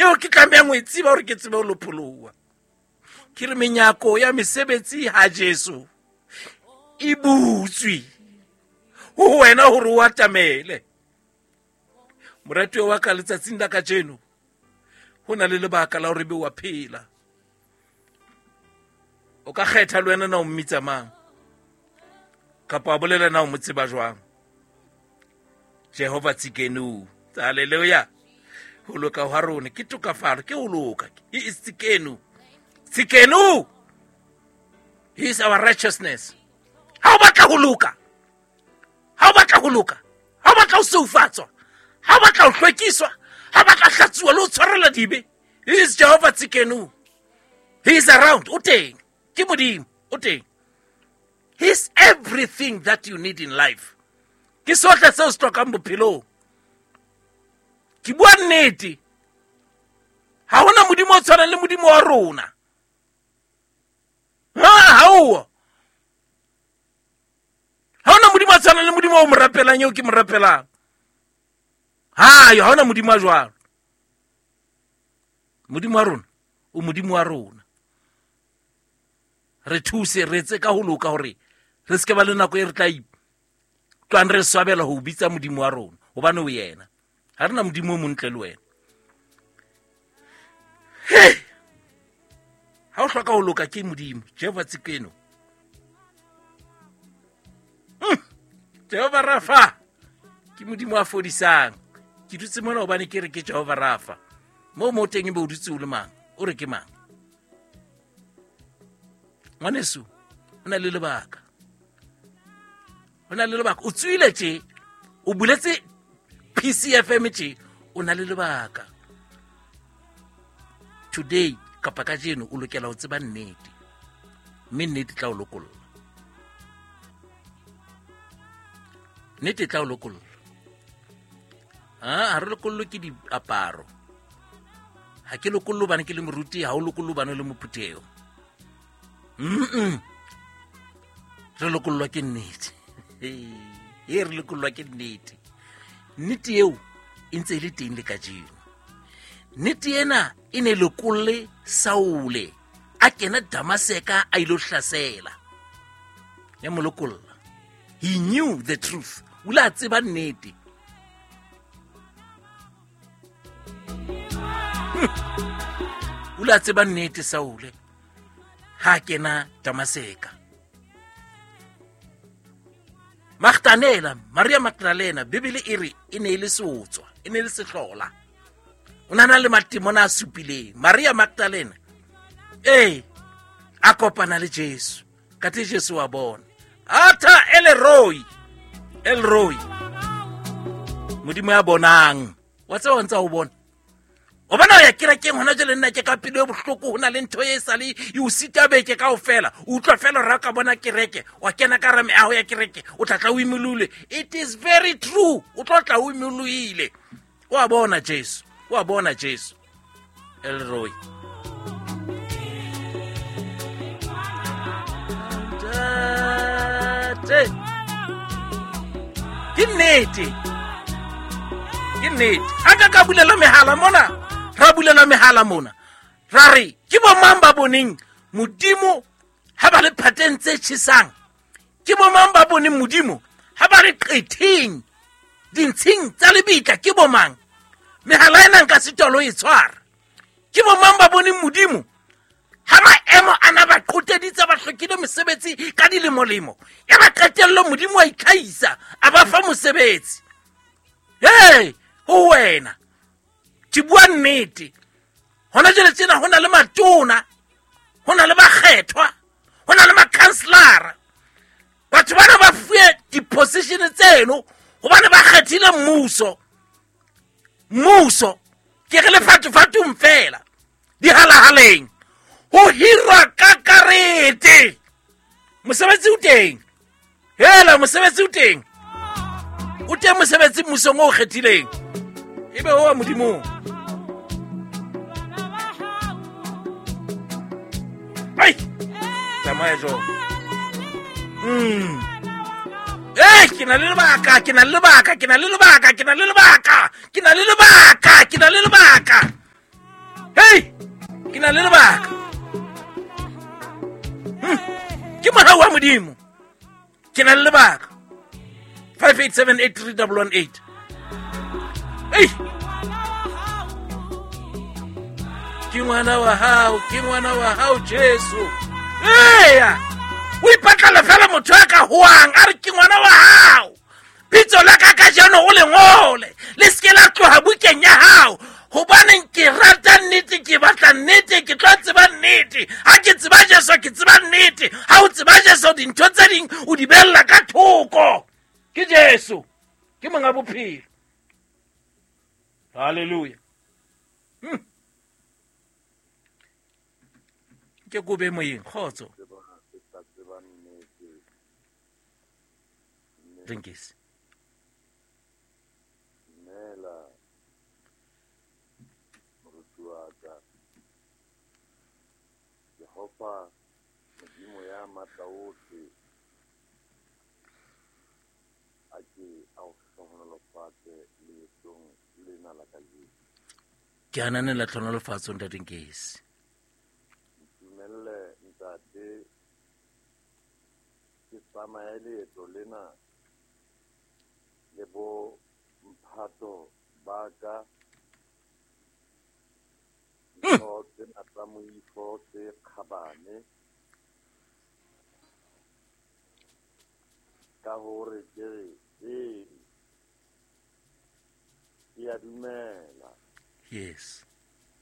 Eo ke tlamehang ho e tseba hore ke tsebe ho lopholoha. Ke re menyako ya mesebetsi ha Jesu e butswe ho wena hore o atamele. Moratuwa wa ka, letsatsing la kajeno ho na le lebaka la hore be wa phela. O ka kgetha le wena na o mmitsa mang, kapa wa bolela na o mo tseba jwang. Jehova Tsikenu, haleluya. Ho loka hwa rona ke tokafalo, ke ho loka. He is Tsikenu. Tsikenu, he is our righteousness. Ha o batla ho loka, ha o batla ho loka, ha o batla ho seufatswa, ha o batla ho hlwekiswa, ha o batla hlatsuwa le ho tshwarela dibe, he is Jehova Tsikenu. He is around. O teng. Ke Modimo. O teng. He is everything that you need in life. Ke sohle seo se hlokang bophelong. Ke bua nnete. Ha hona Modimo o tshwanang le Modimo wa rona. Ha o. Ha hona Modimo o tshwanang le Modimo o mo rapelang eo ke mo rapelang. Ha yo, ha hona Modimo a jwalo. Modimo wa rona o Modimo wa rona. Re thuse, re etse ka ho loka hore re se ke ba le nako e re tla tlwang re swabela ho bitsa Modimo wa rona, hobane o yena. Ha re na Modimo o montle le wena. He! Ha o hloka ho loka ke Modimo, Jehova Tsikeno. Jehova Rafa ke Modimo a fodisang. Ke dutse mona hobane ke re ke Jehova Rafa. Moo mo teng ebe o dutse o le mang? O re ke mang? Ngwaneso, o na le lebaka. O na le lebaka. O tswile tje, o buletse PCFM tje, o na le lebaka. Today kapa kajeno o lokela ho tseba nnete, mme nnete tla o lokolla. Nnete tla o lokolla. Ha re lokollwe ke diaparo. Ha ke lokollwe hobane ke le moruti, ha o lokollwe hobane o le mophutheho. Re lokollwa ke nnete. E re lokollwa ke nnete. Nnete eo e ntse e le teng le kajeno. Nnete ena e ne lokolle Saule a kena Damaseka a ilo hlasela. Ya mo lokolla. He knew the truth. O ile a tseba nnete. O ile a tseba nnete Saule ha kena Damaseka. Magdalena, Maria Magdalena, Bibele e re e ne e le seotswa, e ne e le sehlola. O na na le matimona a supileng. Maria Magdalena, ee, a kopana le Jesu. Kate Jesu wa bona. Atha Elroy, Elroy. Modimo ya bonang. Wa tseba o ntsa o bona. O bona o ya kerekeng hona jwale, nna ke ka pelo e bohloko, ho na le ntho e sale e o sita beke kaofela. O utlwa fela hore ha o ka bona kereke, wa kena ka hara meaho ya kereke, o tla tla o imolule. It is very true. O tlo tla o imoloile. O a bona Jesu, o a bona Jesu. Elroy. Ntate. Ke nnete. Ke nnete. Ha ka ka bulela mehala mona, ra bulela mehala mona. Ra re ke bo mang ba boneng Modimo ha ba le phateng tse tjhesang? Ke bo mang ba boneng Modimo ha ba le qetheng dintshing tsa lebitla? Ke bo mang? Mehala ena nka sitwa le ho e tshwara. Ke bo mang ba boneng Modimo ha maemo ana ba qoteditse, ba hlokile mosebetsi ka dilemolemo, ya ba qetello Modimo wa itlhahisa a ba fa mosebetsi? Hey, ho wena ke bua nnete. Hona jwale tjena ho na le matona, ho na le bakgethwa, ho na le makhanselara. Batho bana ba fuwe di-position tseno hobane ba kgethile mmuso. Mmuso ke re lefatsofatsong fela, dihalahaleng ho hirwa ka karete. Mosebetsi o teng. Hela, mosebetsi o teng. O teng mosebetsi mmusong o kgethileng. Ebe o wa Modimong. Ai! Tsamaya jwang. Eh, ke na le lebaka, ke na le lebaka, ke na le lebaka, ke na le lebaka, ke na le lebaka, ke na le lebaka. na le lebaka. Ke mohau wa Modimo. Ke na le lebaka. 58783118. Ei! Ke ngwana wa hao, ke ngwana wa hao Jesu. Eya! O ipatlala fela motho a ka hoang a re ke ngwana wa hao. Pitso la ka kajeno o le ngole, le se ke la tloha bukeng ya hao. Hobaneng ke rata nnete, ke batla nnete, ke tlo tseba nnete. Ha ke tseba Jesu, ke tseba nnete. Ha o tseba Jesu, dintho tse ding o di bella ka thoko. Ke Jesu, ke monga bophelo. Hallelujah. Ke kobe moyeng, kgotso. Drinkis. Dumela, moruti wa ka. Jehova Modimo ya matla ohle a ke a o hlohonolofatse leetong lena la kajeno. Ke ananela tlhonolofatso, ntate Nkesi. Ntumelle, ntate, ke tsamaye leeto lena le bo mphato ba ka, ntho tsena tsa moifo tse kgabane, ka hore ke re ee, ke a dumela. Yes.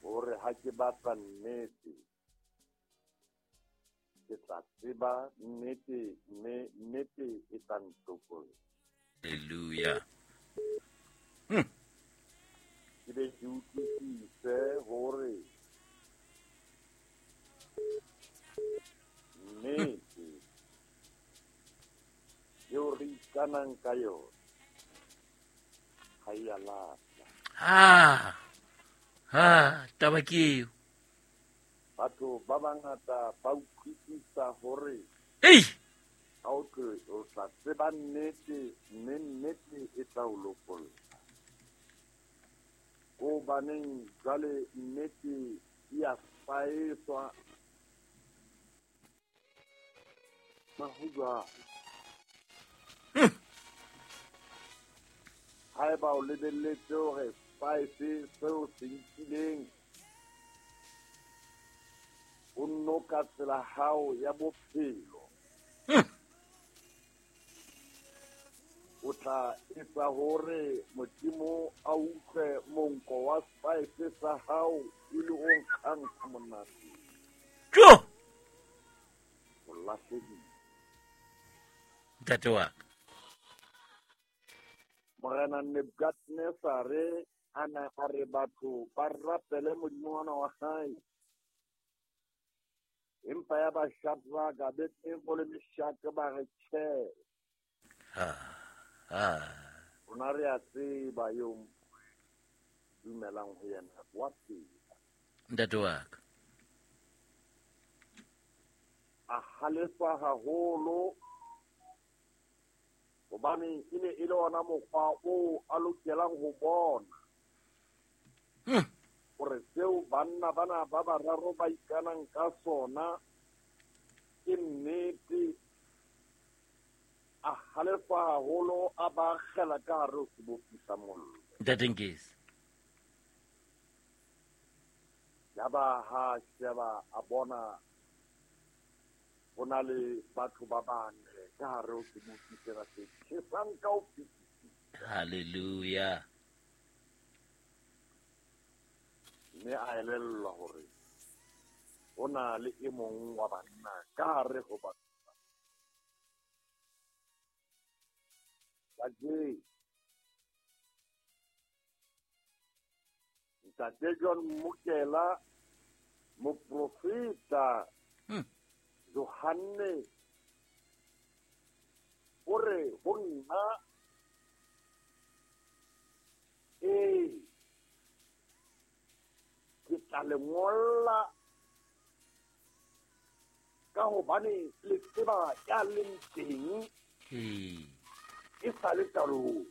Hore ha ke batla nnete, ke tla tseba nnete, mme nnete e tla ntokolla. Hallelujah. Ke be ke utlwisise hore nnete eo re ikanang ka yona ha e a lahla. Ha, taba ke eo. Batho ba bangata ba utlwisisa hore Ei! ha o tlo, o tla tseba nnete, mme nnete e tla o lokolla. Hobaneng jwale nnete e a faeswa ma ho jwalo. Haeba o lebelletse hore spice seo se nkileng o nno ka tsela hao ya bophelo, o tla etsa hore Modimo a utlwe monko wa spice sa hao e le o nkgang ha monate. Jo! O lahlehile. Ntate wa ka. Morena Nebukadnezare a na a re batho ba rapele modimo ona wa hae. Empa ya ba Shadraka, Abednego le Meshake ba re tjhe. Rona re a tseba eo dumelang ho yena wa phela. Ntate wa ka. A halefa haholo hobane e ne e le ona mokgwa oo a lokelang ho bona. Hore seo banna bana ba bararo ba ikanang ka sona ke nnete. A halefa haholo, a ba akgela ka hare ho sebopi sa mollo. Ntate Nkesi. Yaba ha sheba a bona ho na le batho ba bane ka hare ho sebopi sena se tjhesang ka ho fetisisa. Hallelujah. Mme a elellwa hore ho na le e mong wa banna ka hare ho batho. Kajeno Ntate John Mokela, moprofeta Johanne o re ho nna, ee, ke tla le ngolla ka hobane le tseba ya leng teng e sa le qalong.